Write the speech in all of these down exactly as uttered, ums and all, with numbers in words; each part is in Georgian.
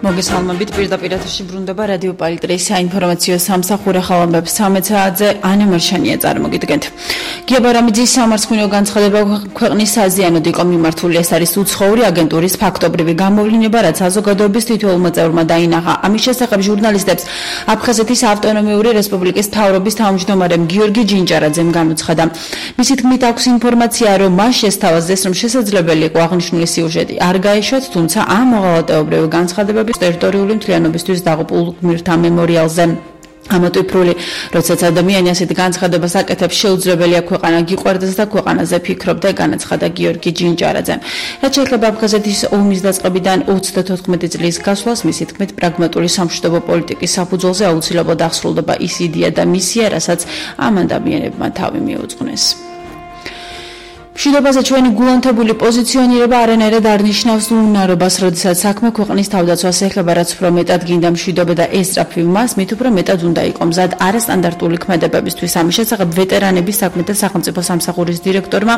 მოგესალმებით, პირდაპირ ეთერში ბრუნდება რადიო პალიტრის საინფორმაციო სამსახური ხალხობებს ცამეტ საათზე ანა მარშანია წარმოგიდგენთ. გია ბარამიძის სამარცხინო განცხადება ქვეყნის საზიანოდ იყო მიმართული. ეს არის უცხოური აგენტურის ფაქტობრივი გამოვლინება, რაც საზოგადოების თითოეულმა წევრმა დაინახა. ამის შესახებ ჟურნალისტებს აფხაზეთის ავტონომიური რესპუბლიკის მთავრობის თავმჯდომარემ გიორგი ჯინჯარაძემ განუცხადა. მისი თქმით აქვს ინფორმაცია, რომ მას შესთავაზეს, რომ შესაძლებელი იყო აღნიშნული სიუჟეტი არ გაეშვათ, თუმცა ამ მოღალატეობრივი განცხადებები ტერიტორიული მთლიანობისთვის დაღუპულ გმირთა მემორიალზე. ამოტვიფრული, როდესაც ადამიანი ასეთ განცხადებას აკეთებს, შეუძლებელია ქვეყანა გიყვარდეს და ქვეყანაზე ფიქრობდა, განაცხადა გიორგი ჯინჯარაძემ. რაც შეეხება აფხაზეთის ომის დაწყებიდან ოცდათოთხმეტი წლის გასვლას, მისი თქმით, პრაგმატული სამშვიდობო პოლიტიკის საფუძველზე აუცილებლად აღსრულდება ის იდეა და მისია, რასაც ამ ადამიანებმა თავი მიუძღვნეს. მშვიდობაზე ჩვენი გულანთებული პოზიციონირება არანაირად არ ნიშნავს უნარობას, როდესაც საქმე ქვეყნის თავდაცვას ეხება, რაც უფრო მეტად გინდა მშვიდობა და ესწრაფი მას, მით უფრო მეტად უნდა იყო მზად არასტანდარტული ქმედებებისთვის. ამის შესახებ ვეტერანების საქმეთა სახელმწიფო სამსახურის დირექტორმა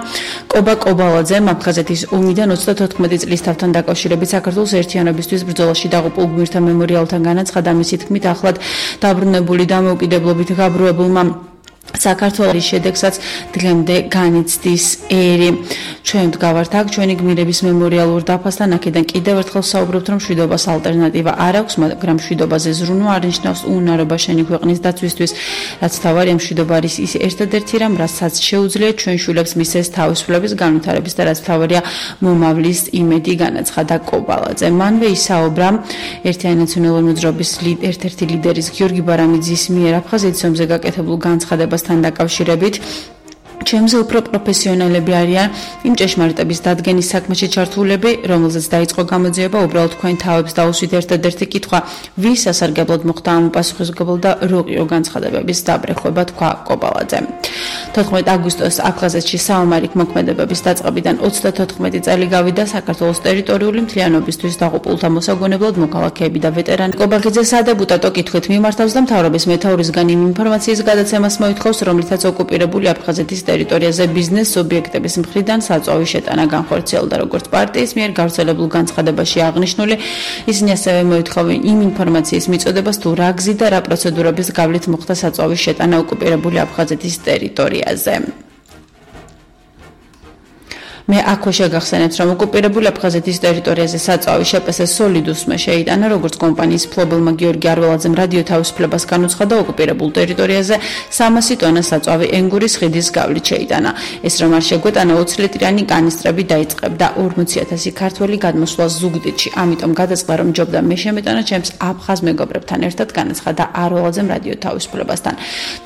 კობა კობალაძემ აფხაზეთის ომიდან ოცდათოთხმეტი წლის თავთან დაკავშირებით საქართველოს ერთიანობისთვის ბრძოლაში დაღუპულ გმირთა მემორიალთან განაცხადა. მისი თქმით, ახლად დაბრუნებული დამოუკიდებლობით გაბრუებულმა საქართველოს შედეგსაც დღემდე განიცდის ერი. ჩვენ ვდგავართ აქ ჩვენი გმირების მემორიალურ დაფასთან, აქედან კიდევ ერთხელ საუბრობთ, რომ მშვიდობას ალტერნატივა არ აქვს, მაგრამ მშვიდობაზე ზრუნვა არ ნიშნავს უნარობა შენი ქვეყნის დაცვისთვის, რაც თავარია მშვიდობა არის ის ერთადერთი რამ, რასაც შეუძლია ჩვენ შვილებს მისცეს თავისუფლების განვითარების და რაც თავარია მომავლის იმედი, განაცხადა კობალაძე. მანვე ისაუბრა ერთიანი ნაციონალური მოძრაობის ერთ-ერთი ლიდერის გიორგი ბარამიძის მიერ აფხაზეთის ომზე გაკეთებულ განცხადებასთან დაკავშირებით. ჩემზე უფრო პროფესიონალები არიან იმ ჭეშმარიტების დადგენის საქმეში ჩართულები, რომელზეც დაიწყო გამოძიება, უბრალოდ თქვენ თავებს დაუსვით ერთადერთი კითხვა, ვის სასარგებლოდ მოხდა ამ უპასუხისმგებლო და როყიო განცხადებების დაბრეხვება, თქვა კობალაძემ. თოთხმეტი აგვისტოს აფხაზეთში საომარი მოქმედებების დაწყებიდან ოცდათოთხმეტი წელი გავიდა საქართველოს ტერიტორიული მთლიანობისთვის დაღუპულთა მოსაგონებლად მოქალაქეები და ვეტერანი. კობახიძე სადეპუტატო კითხვით მიმართავს და მთავრობის მეთაურისგან იმ ინფორმაციის გადაცემას მოითხოვს, რომლითაც ოკუპირებული აფხაზეთის ტერიტორიაზე ბიზნეს სუბიექტების მხრიდან საწვავის შეტანა განხორციელდა, როგორც პარტიის მიერ გავრცელებულ განცხადებაში აღნიშნული. ისინი ასევე მოითხოვენ იმ ინფორმაციის მიწოდებას, თუ რა გზით და რა პროცედურების გავლით მოხდა საწვავის შეტანა ოკუპირებული აფხაზეთის ტერიტორიაზე. მე აქვე შეგახსენებთ, რომ ოკუპირებული აფხაზეთის ტერიტორიაზე საწვავი შეპესეს სოლიდუსმა შეიტანა, როგორც კომპანიის მფლობელმა გიორგი არველაძემ რადიო თავისუფლებას განუცხადა, ოკუპირებულ ტერიტორიაზე სამასი ტონა საწვავი ენგურის ხიდის გავლით შეიტანა. ეს რომ არ შეგვეტანა ოცი ლიტრიანი კანისტრები დაიწყებდა ორმოცი ათასი ქართველი გადმოსვლა ზუგდიდში. ამიტომ გადაწყდა, რომ ჯობდა მე შემეტანა ჩემს აფხაზ მეგობრებთან ერთად, განაცხადა არველაძემ რადიო თავისუფლებასთან.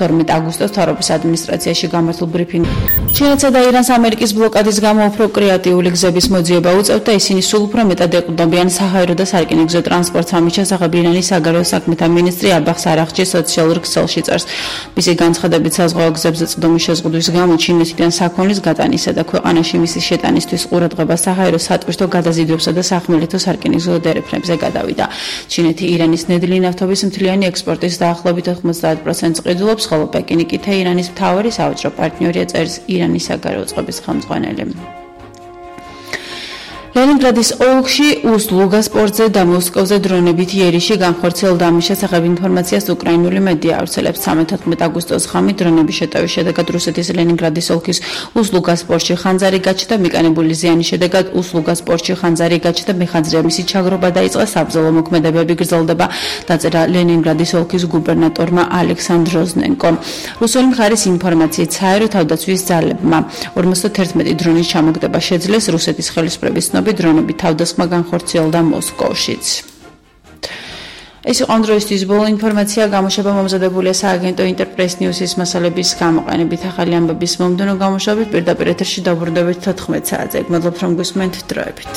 თორმეტი აგვისტოს მთავრობის ადმინისტრაციაში გამართულ ბრიფინგში ჩინეთსა და ირანს ამერიკის ბლოკადის გამო უფრო კრეატიული გზების მოძიება უწევთ და ისინი სულ უფრო მეტად ეყრდნობიან საჰაერო და სარკინიგზო ტრანსპორტს. ამის შესახებ ირანის საგარეო საქმეთა მინისტრი აბახს არაღჩი სოციალურ ქსელში წერს. მისი განცხადებით, საზღვაო გზებზე წვდომის შეზღუდვის გამო ჩინეთიდან საქონლის გატანისა და ქვეყანაში მისი შეტანისთვის ყურადღება საჰაერო სატვირთო გადაზიდვებსა და სახმელეთო სარკინიგზო დერეფნებზე გადავიდა. ჩინეთი ირანის ნედლი ნავთობის მთლიანი ექსპორტის დაახლოებით ოცდაათი პროცენტს ყიდულობს, ხოლო პეკინი კი თეირანის მთავარი სავაჭრო პარტნიორია, წერს ირანის საგარეო წყობის ხელმძღვანელი. ლენინგრადის ოლქში უზლუგას პორტზე და მოსკოვზე დრონებით იერიში განხორციელდა. ამის შესახებ ინფორმაციას უკრაინული მედია ავრცელებს. თერთმეტი აგვისტოს ღამით დრონების შეტევის შედეგად რუსეთის ლენინგრადის ოლქის უზლუგას პორტში ხანძარი გაჩნდა. მიკანებული ზიანის შედეგად უზლუგას პორტში ხანძარი გაჩნდა. მეხანძრია მისი ჩაგრობა დაიწყო. საბრძოლო მოქმედებები გრძელდება, დაწერა ლენინგრადის ოლქის გუბერნატორმა ალექსანდრ როზნენკომ. რუსული მხარის ინფორმაციით, საერო თავდაცვის ძალებმა ორმოცდაერთმეტი დრონის ჩამოგდება შეძლეს. რუსეთის ხელისუფლების დრონები თავდასხმა განხორციელდა მოსკოვშიც. ეს იყო ამ დროისთვის ბოლო ინფორმაცია. გამოშვება მომზადებულია სააგენტო ინტერპრეს ნიუსის მასალების გამოყენებით. ახალი ამბების მომდევნო გამოშვებით პირდაპირ ეთერში დაბრუნდებით თოთხმეტ საათზე. მადლობთ რომ გვისმენთ, დროებით.